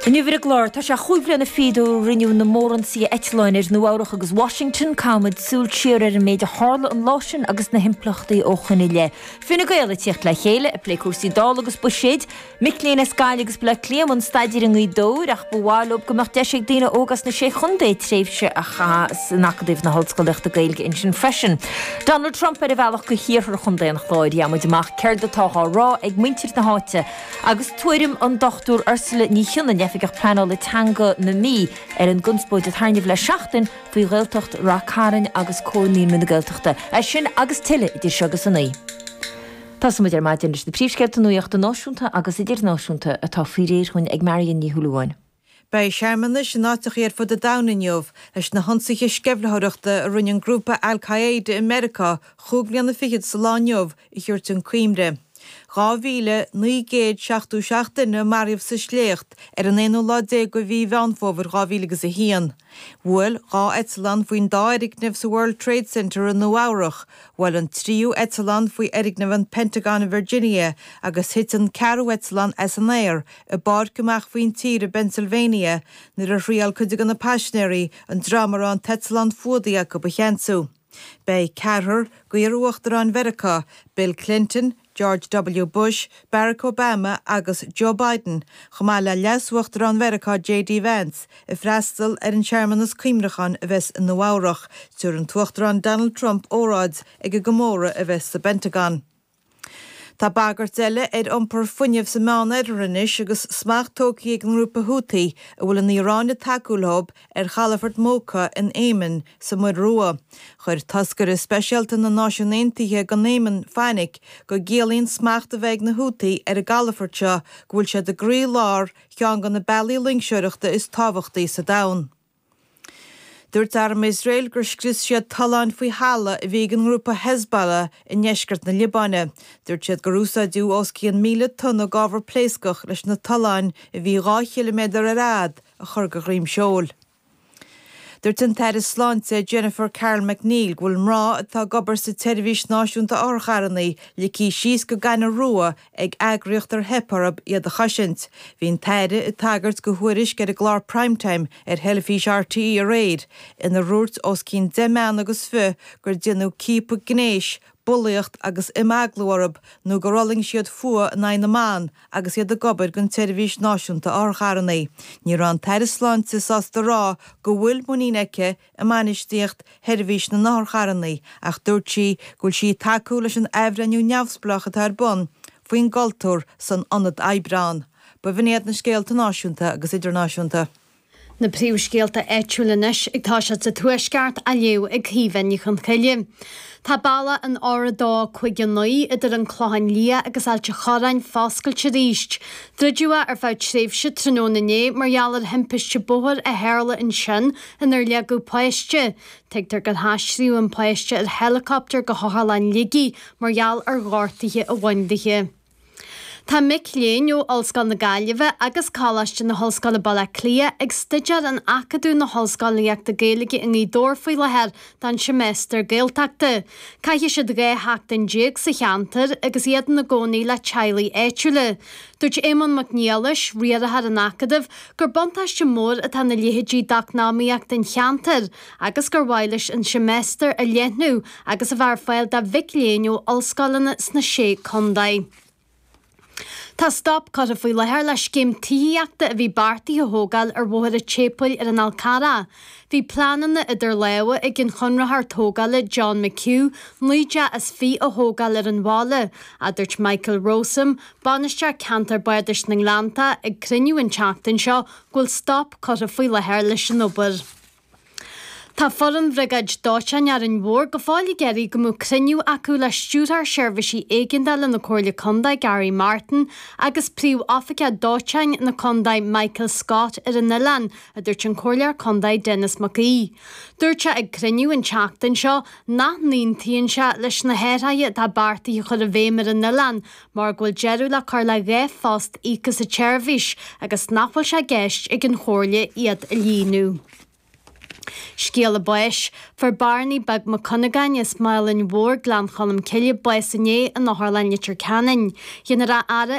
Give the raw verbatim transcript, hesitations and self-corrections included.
Inniu ar an gclár tá sé chúig bliana fichead ó rinneadh na mórionsaithe eitleáin ar Nua Eabhrac agus Washington caithfimid súil siar ar an méid a tharla an lá sin agus na himpleachtaí ó shin i leith. Fine Gael ag tíocht le chéile ag plé cúrsaí Dála agus buiséid, Mic léinn as Gaillimh agus Bleá Cliath ag staidéar i nGaoth Dobhair ach ba mhaith leo go mbeadh deis ag daoine óga as na sé chontae tréimhse a chaitheamh san Acadamh na hOllscolaíochta Gaeilge ansin freisin. Donald Trump ar a bhealach go hiarthar Chontae an Chláir gheobhaimid amach céard atá á rá ag muintir na háite agus tuairim an Dr Ursula Ní Chionnaith Oifigeach Pleanála Teanga na Mí ar an gconspóid atá inniu le seachtain faoi Ghaeltacht Ráth Cairn agus Comhar Naíonraí na Gaeltachta. É sin agus tuilleadh idir seo agus a naoi. Tosóimid ar maidin leis na príomhscéalta nuachta náisiúnta agus idirnáisiúnta atá faoi réir dúinn ag Marion Ní Thuúáin. Beidh searmanais in áiteacha ar fud an domhain inniu leis na hionsaithe sceimhlitheoireachta a rinne an grúpa Al-Qaeda i Meiriceá chúig bliana fichead sa lá inniu a thabhairt chun cuimhne. Dhá mhíle naoi gcéad seachtó seacht duine maraithe sa sléacht ar an aonú lá déag de mhí Mheán Fómhair dhá mhíle agus a haon. Bhuail dhá eitleán faoin dá fhoirgneamh sa World Trade Center i Nua Eabhrac, bhuail an tríú eitleán faoi fhoirgneamh an Pentagon in Virginia agus thit an ceathrú eitleán as an aer i bpáirc amach faoin tír i Pennsylvania nuair a thriail cuid de na paisinéirí an dream a raibh an t-eitleán fuadaithe acu a cheansú. Beidh ceathrar d'iar-uachtaráin Mheiriceá, Bill Clinton, George W. Bush, Barack Obama agus Joe Biden, chomh maith le leas-uachtarán Mheiriceá J.D. Vance, ag freastal ar an searmanas cuimhneacháin a bheas i Nua Eabhrac, tabharfaidh an tUachtarán Donald Trump óráid ag an gcomóradh a bheas sa Pentagon. Tá bagairt eile ar iompar fuinnimh sa Meánoirthear anois agus smacht tógtha ag an ngrúpa Houthi a bhfuil an Iaráin ag tacú leo ar chalafort Mocha in Éimin sa Mhuir Rua. Chuir toscaire speisialta na Náisiún Aontaithe don Éimin fainic go gciallaíonn smacht a bheith ag na Houthi ar an gcalafort seo go bhfuil siad i gcroílár cheann de na bealaí loingseoireachta is tábhachtaí sa domhan. Dúirt arm Iosrael gur scrios siad tolláin faoi thalamh a bhí ag an ngrúpa Hezbollah i ndeisceart na Liobáine. Dúirt siad gur úsáideadh os cionn míle tonna d'ábhar pléascach leis na tolláin a bhí dhá chiliméadar ar fhad a chur de dhroim seoil. Dúirt an tAire Sláinte Jennifer Carroll MacNeill go bhfuil mná atá ag obair sa tseirbhís náisiúnta otharcharranna ligthe síos go gaineamh rua ag eagraíocht ar theip orthu iad a chosaint. Bhí an tAire ag tagairt do thuairisc ar an gclár Primetime ar theilifís RTÉ aréir ina ndúirt os cionn deich mbean agus fiche gur déanadh ciapadh gnéis, bulaíocht agus imeaglú orthu nó gur fhulaing siad fuath in aghaidh na mban agus iad ag obair don tseirbhís náisiúnta otharcharranna. Ní raibh an tAire Sláinte sásta rá go bhfuil muinín aici i mbainistíocht sheirbhís na n-otharcharranna ach dúirt sí go bhfuil sí ag tacú leis an athbhreithniú neamhspleách atá ar bun faoin gcultúr san ionad oibre. Ba bh'in iad na scéalta náisiúnta agus idirnáisiúnta. Na príomhscéalta áitiúla anois ag toiseacht sa Tuaisceart á léamh ag Caoimhe Ní Chonchoille. Tá bealach an R dó cúig naoi idir an Clochán Liath agus Ailt an Chorráin foscailte arís. Druideadh é ar feadh tréimhse tráthnóna inné mar gheall ar thimpiste bóthair a tharla ansin inar leagadh páiste. Tuigtear gur haistríodh an páiste ar helicopter go hOtharlann Shligigh mar gheall ar ghortuithe a bhain di. Tá mic léinn ó Ollscoil na Gaillimhe agus Coláiste na hOllscoile Baile Átha Cliath ag staidéar in Acadamh na hOllscolaíochta Gaeilge i nGaoth Dobhair faoi láthair don seimeastar Gaeltachta. Caithfidh siad dhá sheachtain déag sa cheantar agus iad ina gcónaí le teaghlaigh áitiúla. Dúirt Éamonn Mac Niallais, riarthóir an Acadaimh, gur buntáiste mór atá ina leithéidí d'eacnamaíocht an cheantair agus gur mhaith leis an seimeastar a leathnú agus a bheith ar fáil do mhic léinn ó ollscoileanna sna sé contae. Tá stop curtha faoi láthair le scéim tithíochta a bhí beartaithe a thógáil ar Bhóthar an tSéipéil ar an Fhál Carrach. Bhí pleananna idir lámha ag an chonraitheoir tógála John McHugh naoi dteach is fiche a thógáil ar an bhaile, a dúirt Michael Rowsome, bainisteoir ceantar Bardais na nGleannta ag cruinniú an tseachtain seo go bhfuil stop curtha faoi láthair leis an obair. Tá foireann Bhriogáid Dóiteáin Árainn Mhór go fóill ag iarraidh go mbeadh cruinniú acu le stiúrthóir seirbhísí éigeandála na Comhairle Contae Gary Martin agus príomhoifigeach dóiteáin na Contae Michael Scott ar an oileán, a dúirt an Comhairleoir Contae Denis Mac Aoidh. Dúirt sé ag cruinniú an tseachtain seo nach n-aontaíonn sé leis na hathruithe atá beartaithe a chur i bhfeidhm ar an oileán mar go bhfuil deireadh le cur le dhá phost íoctha sa tseirbhís agus nach bhfuil sé i gceist ag an Chomhairle iad a líonadh. Scéala báis, Fuair Barney Beag Mac Cunagáin as Málainn Mhór Gleann Cholm Cille bás inné in Otharlann Leitir Ceanainn. Dhéanfar a fhaire